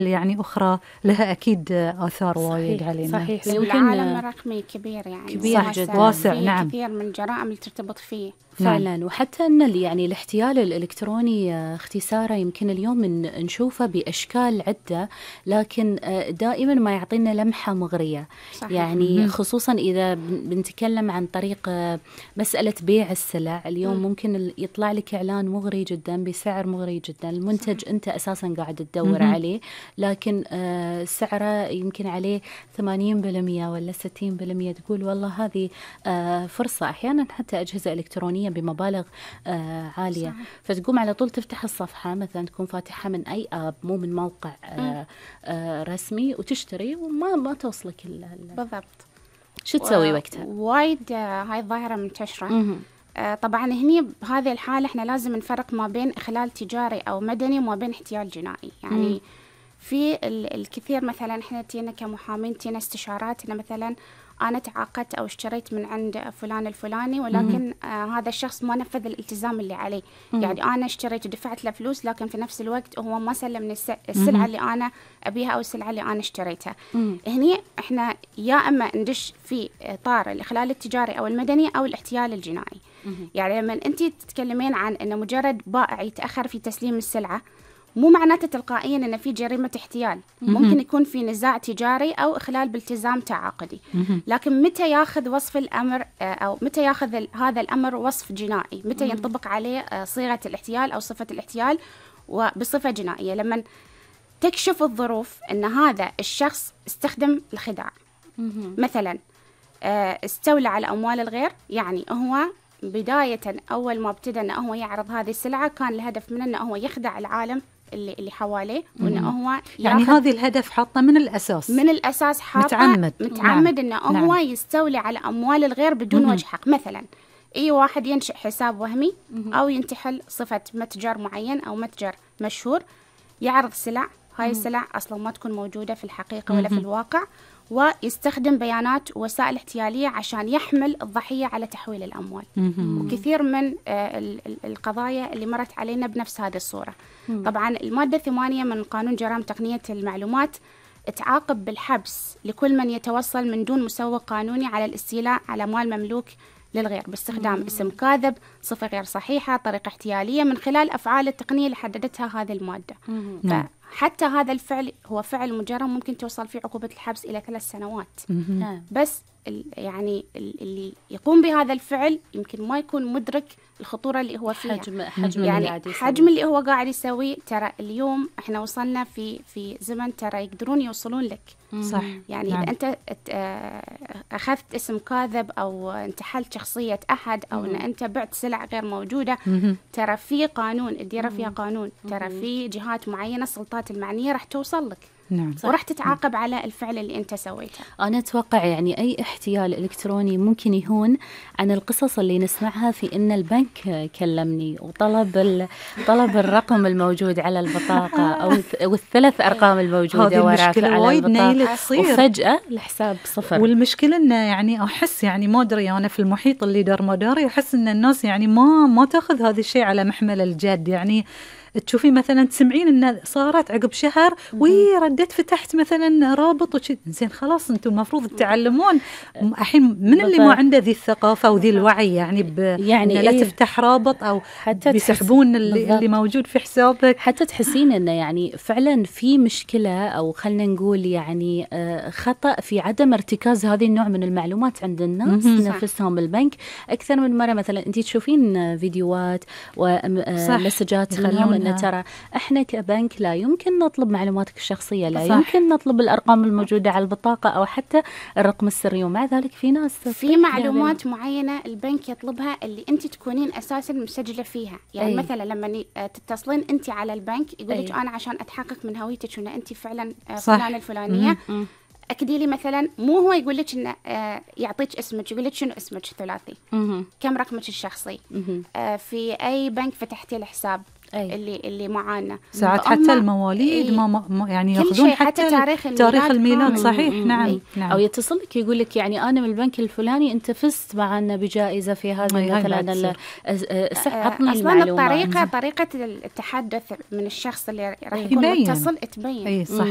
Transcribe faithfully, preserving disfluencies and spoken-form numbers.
يعني أخرى لها أكيد آثار وايد علينا. صحيح. العالم الرقمي كبير يعني كبير جدا واسع. نعم. كثير من الجرائم اللي ترتبط فيه فعلا. نعم. وحتى أن يعني الاحتيال الإلكتروني اختصاره يمكن اليوم نشوفه بأشكال عدة، لكن دائما ما يعطينا لمحة مغرية. صحيح. يعني خصوصا إذا بنتكلم عن طريق مسألة بيع السلع اليوم، م. ممكن يطلع لك إعلان مغري جدا بسعر مغري جدا، المنتج صحيح. أنت أساسا قاعد تدور م. عليه، لكن سعره يمكن عليه ثمانين بالمئة ولا ستين بالمئة. تقول والله هذه فرصة. أحيانا حتى أجهزة إلكترونية بمبالغ آه عالية. صحيح. فتقوم على طول تفتح الصفحة، مثلا تكون فاتحة من أي آب مو من موقع آه آه رسمي، وتشتري وما ما توصلك بالضبط. شو تسوي وقتها؟ وايد آه هاي الظاهرة منتشرة. آه طبعا هني بهذه الحالة احنا لازم نفرق ما بين إخلال تجاري أو مدني وما بين احتيال جنائي. يعني مم. في الكثير مثلا احنا تينا كمحامين تينا استشارات، إنه مثلا أنا تعاقدت أو اشتريت من عند فلان الفلاني، ولكن آه هذا الشخص ما نفذ الالتزام اللي عليه. مم. يعني أنا اشتريت ودفعت له فلوس، لكن في نفس الوقت هو ما سلمني السلعة مم. اللي أنا أبيها أو السلعة اللي أنا اشتريتها. مم. هني إحنا يا إما ندش في إطار الإخلال التجاري أو المدني أو الاحتيال الجنائي. مم. يعني لما أنت تتكلمين عن أن مجرد بائع يتأخر في تسليم السلعة، مو معناته تلقائيا أن في جريمة احتيال. ممكن يكون في نزاع تجاري أو إخلال بالتزام تعاقدي، لكن متى ياخذ وصف الأمر أو متى ياخذ هذا الأمر وصف جنائي؟ متى ينطبق عليه صيغة الاحتيال أو صفة الاحتيال وبصفة جنائية؟ لما تكشف الظروف أن هذا الشخص استخدم الخداع، مثلا استولى على أموال الغير. يعني هو بداية أول ما ابتدى أنه هو يعرض هذه السلعة كان الهدف منه أنه هو يخدع العالم اللي اللي حواليه، وأنه هو يعني هذه الهدف حاطة من الأساس من الأساس حاطة متعمد متعمد نعم. أنه نعم. هو يستولي على أموال الغير بدون مم. وجه حق. مثلا أي واحد ينشئ حساب وهمي مم. أو ينتحل صفة متجر معين أو متجر مشهور، يعرض سلع، هاي مم. السلع أصلا ما تكون موجودة في الحقيقة ولا مم. في الواقع، ويستخدم بيانات وسائل احتيالية عشان يحمل الضحية على تحويل الأموال. مم. وكثير من القضايا اللي مرت علينا بنفس هذه الصورة. مم. طبعا المادة الثمانية من قانون جرائم تقنية المعلومات تعاقب بالحبس لكل من يتوصل من دون مسوغ قانوني على الاستيلاء على مال مملوك للغير باستخدام مم. اسم كاذب، صفة غير صحيحة، طريقة احتيالية، من خلال أفعال التقنية اللي حددتها هذه المادة. مم. حتى هذا الفعل هو فعل مجرم ممكن توصل فيه عقوبة الحبس إلى ثلاث سنوات. مم. بس يعني اللي يقوم بهذا الفعل يمكن ما يكون مدرك الخطورة اللي هو فيها. حجم حجم يعني اللي قاعد يسوي. حجم اللي هو قاعد يسوي. ترى اليوم احنا وصلنا في في زمن ترى يقدرون يوصلون لك. صح. يعني نعم. إذا أنت أخذت اسم كاذب أو انتحلت شخصية أحد أو أن أنت بعت سلع غير موجودة، ترى في قانون الديرة فيها قانون، ترى في جهات معينة السلطات المعنية راح توصل لك. نعم. وراح تتعاقب على الفعل اللي أنت سويته. أنا أتوقع يعني أي احتيال إلكتروني ممكن يهون عن القصص اللي نسمعها في إن البنك كلمني وطلب طلب الرقم الموجود على البطاقة أو والثلاث أرقام الموجودة وراء على البطاقة، وفجأة الحساب صفر. والمشكلة إنه يعني أحس يعني ما أدري أنا في المحيط اللي دار مداري أحس إن الناس يعني ما ما تأخذ هذا الشيء على محمل الجد. يعني تشوفي مثلا تسمعين إن صارت عقب شهر وردت فتحت مثلا رابط وشي، زين خلاص أنتم المفروض تعلمون. الحين من اللي ما عنده ذي الثقافة وذي الوعي يعني ب يعني إيه؟ لا تفتح رابط أو حتى بيسحبون اللي, اللي موجود في حسابك. حتى تحسين إنه يعني فعلا في مشكلة أو خلنا نقول يعني خطأ في عدم ارتكاز هذه النوع من المعلومات عند الناس نفسهم البنك أكثر من مرة. مثلا أنت تشوفين فيديوهات ومسجات منهم إن ترى إحنا كبنك لا يمكن نطلب معلوماتك الشخصية، لا صح. يمكن نطلب الأرقام الموجودة على البطاقة أو حتى الرقم السري، ومع ذلك في ناس في معلومات معينة البنك يطلبها اللي أنت تكونين أساسا مسجلة فيها. يعني أي. مثلا لما تتصلين أنت على البنك يقولك أنا عشان أتحقق من هويتك وأن أنت فعلا فلانة الفلانية، م- أكدي لي مثلا، مو هو يقول لك إنه آه يعطيك اسمك، يقول لك شنو اسمك ثلاثي، كم رقمك الشخصي، آه في أي بنك فتحتي الحساب، أي. اللي اللي معانا ساعات حتى المواليد أي. ما ما يعني ياخذون حتى, حتى تاريخ الميلاد, تاريخ الميلاد صحيح. مم. نعم. نعم. أو يتصل لك يقول لك يعني أنا من البنك الفلاني أنت فزت معنا بجائزة في هذا مثلا. عطني المعلومة. الطريقة طريقة التحدث من الشخص اللي راح يكون متصل تبين. أي صحيح.